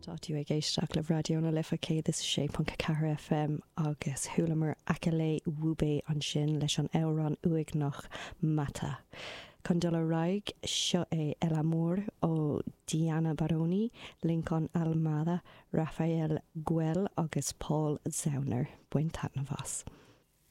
Tá tú ag éisteacht le Raidió na Life 106.4 FM agus chualamar Akele Wube ansin leis an amhrán uaigneach Mata. Chun dul ar aghaidh, seo é El Amor ó Diana Baroni, Lincoln Almada, Rafael Güell agus Paul Zauner. Bain taitneamh as.